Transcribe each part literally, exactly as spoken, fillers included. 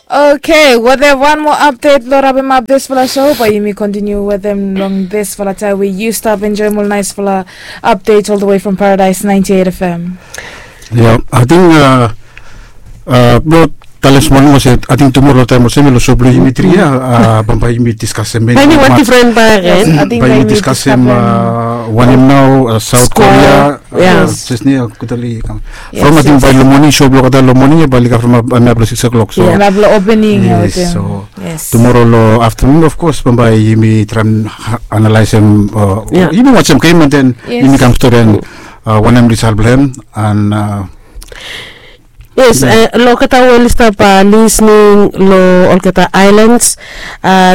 Okay, wetem wan moa apdet blong rapemap disfala show, bae yumi kontiniu wetem long disfala taem we yu stap enjoem ol naesfala apdet ol the way from Paradise ninety eight F M. Ya, ating blong talem smol moa se ating tumoro taem olsem long show blong yumi tri ya, bambae yumi diskasem meni wan difren bae, bae yumi diskasem wanem nao, South Korea. Yes. Jes ni, a, kutali kam. From ating bae long moning, show blong olgeta long moning ya bae oli kam from a, a, blong six o'clock. So ya, blong opening ya wetem. So tumoro long aftenun, of course, bambae yumi traem analaesem, yumi wajem gem, and then yumi kam stori wanem risal blong hem. And yes, long olgeta we oli stap lisning long olgeta aelans,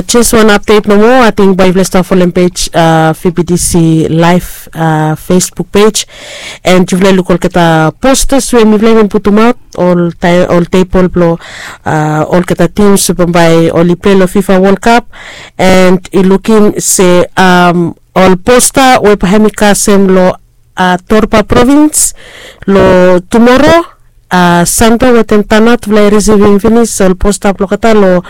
jes wan apdet nomo. Ating bae yufala stap folem pej, V B T C Live Facebook pej, and yufala luk olgeta postas we mifala i bin putumaot ol tebol blong olgeta tims we bambae oli plei long FIFA World Cup, and i lukim se ol posta we bae hem i kasem long Torba provins long tumoro, Santo wetem Tanna tufala i risivim finis ol posta blong olgeta long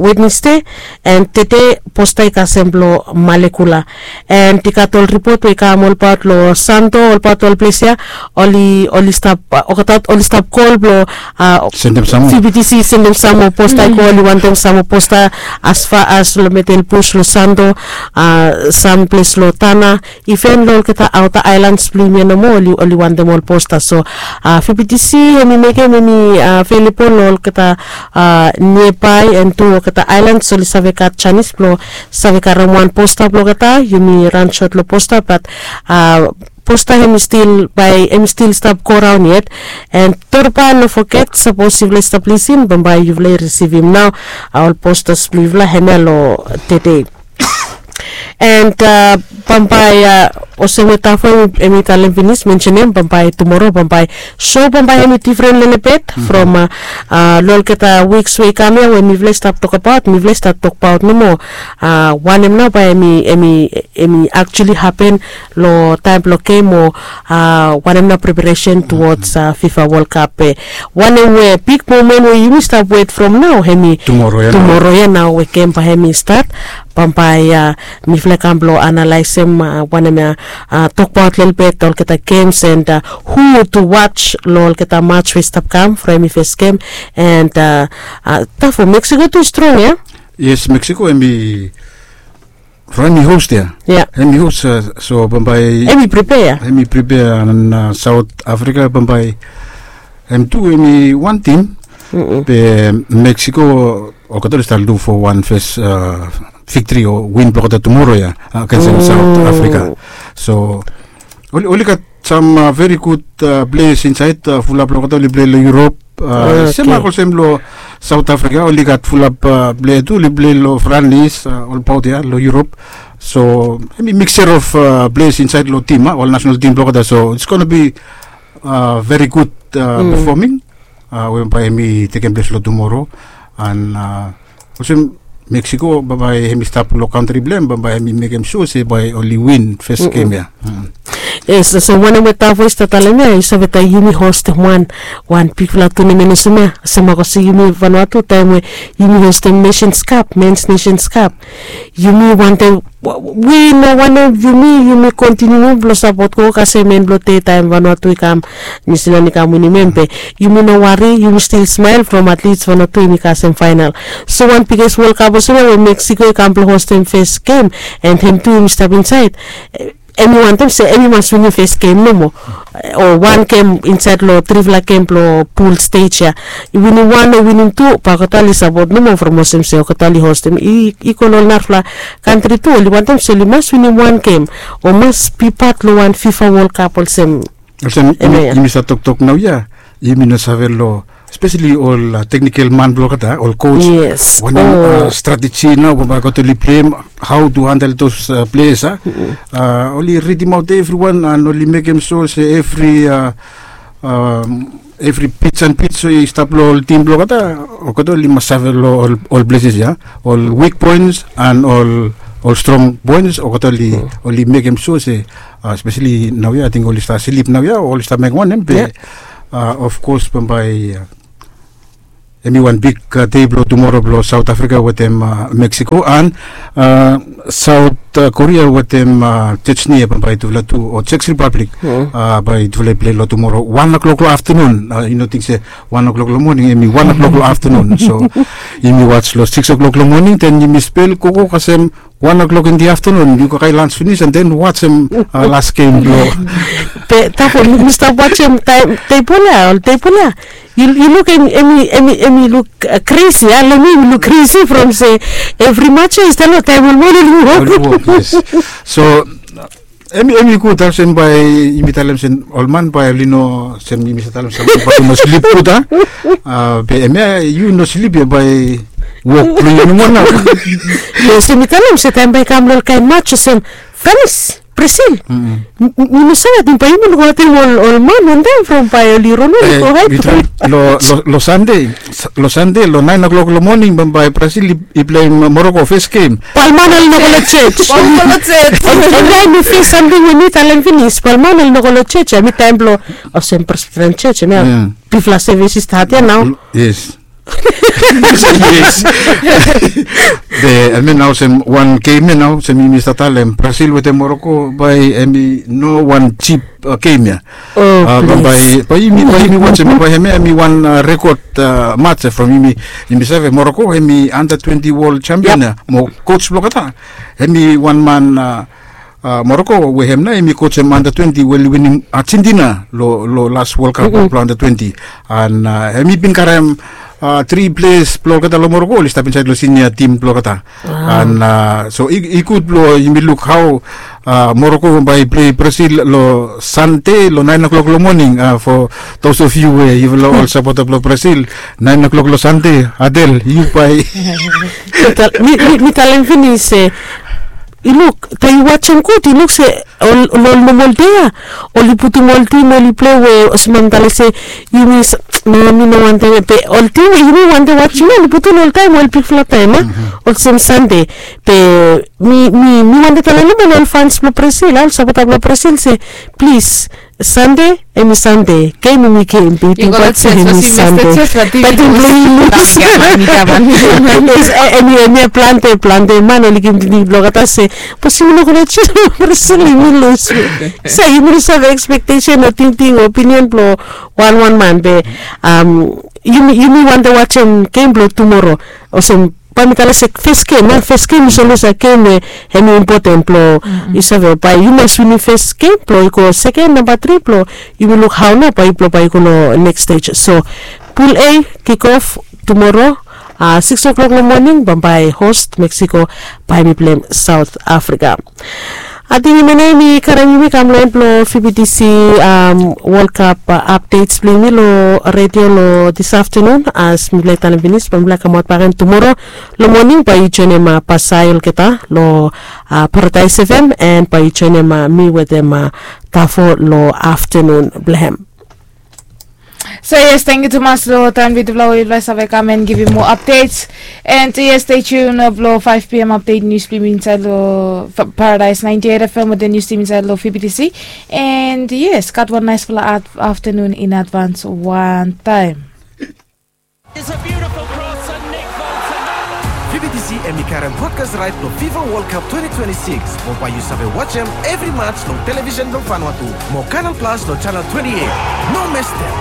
Wednesde, and tede posta i kasem blong Malekula. And i gat ol ripot we i kam olbaot long Santo, olbaot ol ples ya oli, oli stap, olgeta oli stap kol blong sendem sam moa, V B T C sendem sam moa posta i go, oli wantem sam moa posta as far as long Metelbus, long Santo, sam ples long Tanna, iven long olgeta aota aelans blong yumi ya nomo, oli, oli wantem ol posta. So V B T C hem i mekem hem i avelebol long olgeta niabae, and tu olgeta aelans oli save gat janis blong save karem wan posta blong olgeta. Yumi ran sot long posta, bat posta hem i stil, bae hem i stil stap goraon yet. And Torba, no foget, sapos yufala i stap lisin, bambae yufala i risivim nao ol postas blong yufala hemia long tede. And bambae, olsem we Tafo hem i talem finis, mensenem, bambae tumoro, bambae show bambae hem i difren lelebet from long olgeta wiks we i kam ya we mifala i stap tokbaot, mifala i stap tokbaot nomo wanem nao bae hem i, hem i, hem i actually hapen long taem blong gem, o wanem nao preparesen towards FIFA World Cup. Wanem we big moment we yumi stap wet from nao, hem i tumoro ya nao we gem bae hem i stat. Bambae mifala i kam blong analaesem wanem ya, tokbaot lelebet olgeta gems and who to watch long olgeta mats we i stap kam from hem i fes gem. And Tafo, Mexico tu i strong ya? Yes, Mexico hem i from hem i host ya. Ya. Hem i host, so bambae hem i prepea ya. Hem i prepea, and South Africa bambae hem tu hem i wan tim. Be Mexico olgeta oli stap luk fo wan fes viktri o win blong olgeta tumoro ya agensem South Africa. So oli, oli gat sam veri gud pleas insaed, fulap long olgeta oli plei long Europe. Semak olsem long South Africa, oli gat fulap pleas tu oli plei long France, olbaot ya long Europe. So hem i mixture of pleas insaed long tim, ol nasenal tim blong olgeta. So it's gonna be veri gud performing we bae hem i tekem ples long tumoro. And olsem Mexico, bambae hem i stap long kantri blong hem, bambae hem i mekem sua se bae oli win fes gem ya. Yes, olsem wanem we Tafo i stap talem ya, yu save taem yumi hostem wan, wan bigfala tunamen olsem ya, semak olsem yumi Vanuatu taem we yumi hostem Nations Cup, Men's Nations Cup. Yumi wantem, wi no wantem yumi, yumi kontiniu blong sapot, go kasem en blong dei taem Vanuatu i kam, Niusilan i kam winim hem, be yumi no wari, yumi stil smael from at least Vanuatu hem i kasem faenal. So wan biges World Cup olsem ya we Mexico i kam blong hostem fes gem, and hem tu hem i stap insaed, hem i wantem se hem i mas winim fes gem nomo, o wan gem insaed long trifala gem blong pul stej ya. I winim wan o winim tu, bae olgeta oli sapot nomo from olsem se olgeta oli hostem, i, i go long ol narafala kantri tu, oli wantem se oli mas winim wan gem o mas bi pat long wan FIFA World Cup olsem. Olsem yumi, yumi stap toktok naoia, yumi no save long, espeseli ol teknikel man blong olgeta, ol coach. Yes. Wanem strateji nao we bae olgeta oli pleim, how to handle those players, a? Oli ridimaot evriwan and oli mekem sua se evri, evri pits and pits we i stap long ol tim blong olgeta, olgeta oli mas save long ol, ol places ia, ol weak points and ol, ol strong points, olgeta oli, oli mekem sua se, espeseli naoia, ating oli stap slip naoia, oli stap mekem wanem be, of course bambae Hemi wan big dei blong tumoro blong South Africa wetem Mexico and South Korea wetem Chechnya, bambae tufala tu o Czech Republic, bae tufala i pilei long tumoro wan o'clock long aftenun. Yu no ting se wan o'clock long moning, hemi wan o'clock long aftenun. So yumi waj long six o'clock long moning, then yumi spel gogo kasem wan o'clock in the aftenun yu kakae lans finis and then wajem las gem blong. Be tafo mi stap wajem taem tebol ya, ol tebol ya. Yu luk hemi hemi hemi luk kresi ya, long mi hemi luk kresi from se evri mats ya i stap long taem ol man oli wok. So hemi hemi gud olsem bae yumi talem se ol man bae oli no, se yumi save talem se bae oli no slip gud a. Be hemia yu no slip ya bae wok blong yu nomo nao. Yes, yumi talem se taem bae i kam long ol kaen mats olsem Franis, Brasil. Mi no save ating bae yumi lukaotem ol man wantaem from bae oli ron ol i go haed. Long Sande, long Sande long naen o'clock long moning bambae Brasil i pleim Moroko fes gem. Bae ol man oli no go long jej. Bae ol man oli no go long jej. Hemia hemi fes samting we mi talem finis, bae ol man oli no go long jej. Hemi taem blong olsem Presbyterian Church hemia bifala sevis i stat ya nao. Yes. Yes. Be hemia nao olsem wan gem ya nao olsem yumi stap talem Brasil wetem Moroko, bae hemi no wan jip gem ya. Bae yumi wajem bae hemia hemi wan rekod mats from yumi. Yumi save Moroko hemi anda twenti wol jampion ya mo koj blong olgeta. Hemi wan man Moroko we hem nao hemi kojem anda twenti we oli winim Argentina long las Wol Kap blong anda twenti. And hemi bin karem tri pleas blong olgeta long Moroko oli stap insaed long sinia tim blong olgeta. And so i gud blong yumi luk hao Moroko bae i plei Brasil long Sande long naen o'clock long moning. For those of you we yufala ol sapota blong Brasil, naen o'clock long Sande, Adel yu bae. Mi talem finis se i luk taem yu wajem gud i luk se ol ol nomol dei ya oli putum ol tim oli plei we olsem mi talem se yumi, no mi no wantem ya be ol tim we yumi wantem wajem ya oli putum oltaem ol bigfala taem a olsem Sande. Be mi mi mi wantem talem long ol fans blong Brasil a, ol sapota blong Brasil se plis, Sande hemi Sande, gem hemi gem, be yu ting wajem hemi Sande. Be ting blong yu lus. Hemi hemi plante plante man oli givim tingting blong olgeta se bos yumi no gud long jej, Brasil yumi lus. So yumi no save ekspektesen o tingting o opinion blong wanwan man be yumi yumi wantem wajem gem blong tumoro olsem bae mi talem se fes gem a, fes gem yu save lus a gem we hemi impoten blong yu save bae yu mas winim fes gem blong yu go seken, namba tri blong yumi luk hao nao bae yupela bae yu go long neks stej. So pul A kikof tumoro six o'clock long moning bambae host Mexico bae mi pleim South Africa. Ating yumi nao yumi karem yumi kam long en blong V B T C World Cup updates blong yumi long redio long this afternoon. As mipela i talem finis bae mipela i kamaot bak gen tumoro long moning bae yu joinim Pasai olgeta long Paradise F M and bae yu joinim mi wetem Tafo long afternoon blong hem. So yes, tangkiu tumas long taem blo yufala we yufala save kam and givim moa updates. And yes, stay tuned blo five p.m. update news blo yumi insaed lo Paradise ninety-eight F M wetem news team insaed lo V B T C. And yes, gat wan naesfala afternoon in advance wantaem. It's a beautiful cross and Nick Bolton. V B T C hemi karem broadcast right blo FIFA World Cup twenty twenty-six. Mo bae yu save wajem evri mats long television blo Vanuatu mo Canal Plus lo channel twenty-eight. No misstep.